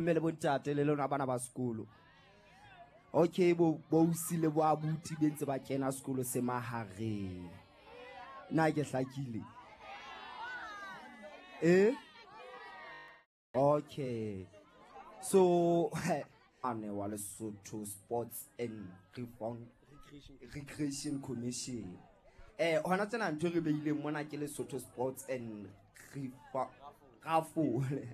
Mme le bontate le lona bana ba sekolo. Okay, bo bousi le bo abuti be ntse ba kena sekolo se mahareng. Na ke hlakile? Eh? Okay. So ane wa Lesotho Sports and Reform Recreation Commission. Eh hona tsena ntho re beileng mona ke Lesotho Sports and Rafole.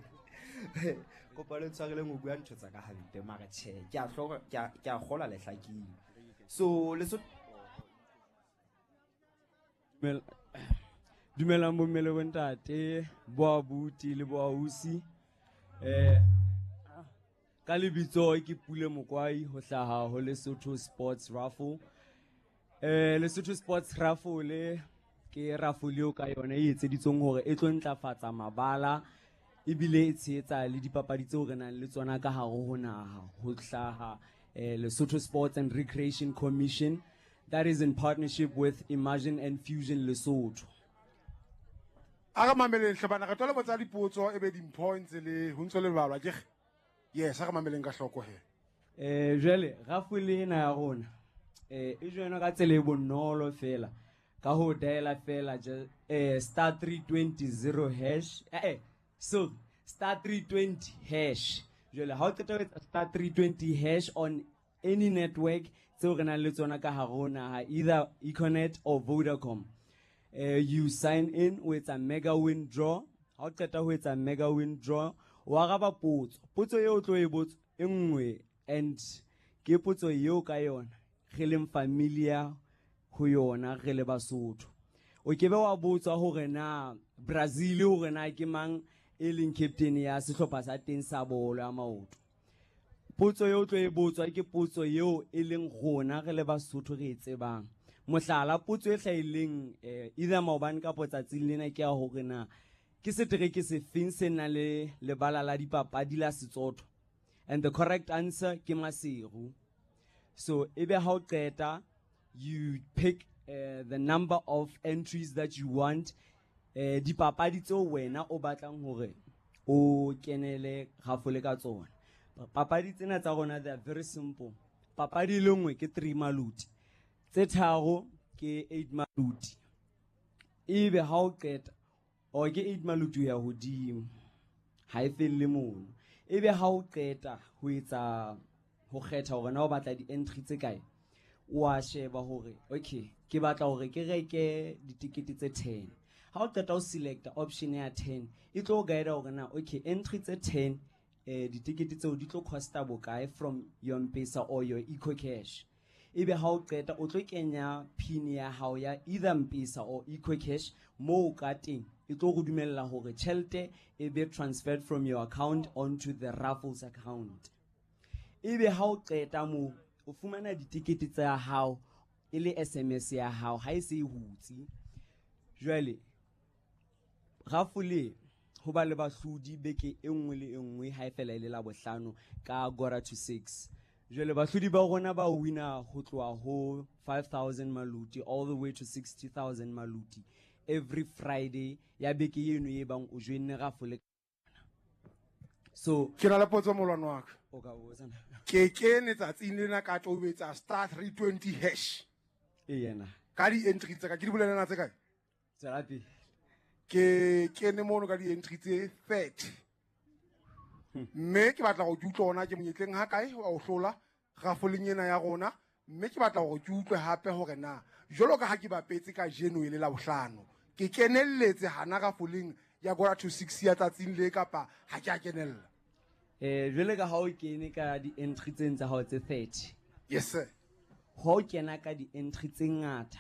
Kopa le tshwareleng ho bua ntho tsa ka hampe mara tjhe ke a hloka ke a kgola le hlakile. So Lesotho Dumelang bomme le bontate, bo abuti le bo ausi. Eh ka lebitso ke Pule Mokwai ho hlaha ho Lesotho Sports Raffle. Eh Lesotho Sports Raffle ke raffle eo ka yona e etseditsweng hore e tlo ntlafatsa mabala ebile e tshehetsa le dipapadi tseo re nang le tsona ka hare ho naha ho hlaha eh, Lesotho Sports and Recreation Commission that is in partnership with Imagine and Fusion Lesotho. A re mameleng hle bana, re tlo le botsa dipotso e be dimpho e ntse le ho ntse le balwa ke yes, a re mameleng ka hloko he. Eh jwale rafole ena ya rona eh e joinwa ka tsela e bonolo fela ka ho diala fela eh star 320 0 hash eh, eh so star 320 hash jwale ha o qeta ho etsa star 320 hash on any network tseo re nang le tsona ka hare ho naha either Econet or Vodacom you sign in o etsa mega win draw ha o qeta ho etsa mega win draw o araba potso potso eo o tlo e botsa e nngwe and ke potso eo ka yona re leng familiar ho yona re le Basotho o ke be wa botswa hore na Brazil hore na ke mang e leng captain ya sehlopha sa teng sa bolo ya maoto potso eo tlo e botswa ke potso eo e leng rona re le Basotho re e tsebang mohlala potso e hlahileng eh, either maobane kapo tsatsing lena ke ya hore na ke setereke sefeng se nang le lebala la dipapadi la Setsotho and the correct answer ke Maseru so ebe ha o qeta you pick the number of entries that you want eh dipapadi tseo wena o batlang hore o kenele gafole ka tsona papadi tsena tsa rona they are very simple papadi e le nngwe ke 3 maluti tse tharo ke 8 maluti ebe ha o qeta o ke 8 maluti ho ya hodimo ha e felle mono ebe ha o qeta ho etsa ho kgetha hore na o batla di-entry tse kae o a sheba hore okay ke batla hore ke reke ditikete tse 10 ha o qeta o selecta option ya 10 e tlo o guide hore na okay entry tse 10 eh ditikete tseo di tlo costa bokae from your M-Pesa or your EcoCash ebe ha o qeta o tlo kenya pin ya hao ya either M-Pesa or EcoCash moo ka teng e tlo go dumella hore tjhelete e be transferred from your account onto the raffles account ebe ha o qeta moo o fumana ditikete tsa hao e le SMS ya hao ha e se e hutse jwale rafole ho ba le bahlodi beke e nngwe le e nngwe ha e fela e le la bohlano ka quarter to 6 jwale bahlodi ba rona ba wina ho tloha ho 5000 maluti all the way to 60000 maluti every Friday ya beke eno e bang o joinne rafole so ke na le potso molwane wa ka o ka botsa na ke kene tsatsing lena ka tobetsa star 320 hash e yena ka di-entry tsa ka ke di bolelana tse kae tswela pele ke kene mono ka di-entry tse 30 mme ke batla gore ke utlwe ona ke monyetleng ha kae wa o hlola rafoleng ena ya rona mme ke batla gore ke utlwe hape hore na jwalo ka ha ke bapetse ka jeno e le la bohlano ke kenelletse hana rafoleng ya quarter to 6 ya tsatsing le kapa ha ke a kenella eh jwale ka ha o kene ka di-entry tseng tsa hao tse 30 yes sir ha o kena ka di-entry tse ngata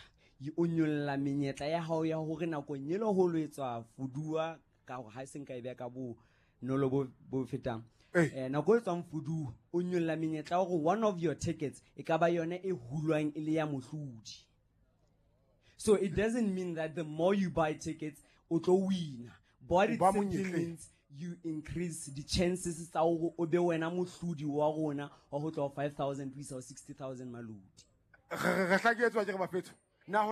o nyolla menyetla ya hao ya hore nakong e le ho lo etswa fuduwa ka hore ha e seng ka e beha ka bo nolo bo bo fetang eh nako e tswang fuduwa o nyolla menyetla ya hore one of your tickets e ka ba yona e hulwang e le ya mohlodi so it doesn't mean that the more you buy tickets o tlo wina but it Ba simply monyetleng. means you increase the chances tsa hore o be wena mohlodi wa rona wa ho tloha 5000 ho isa ho 60000 malodi re hlaketswa ke re bafetho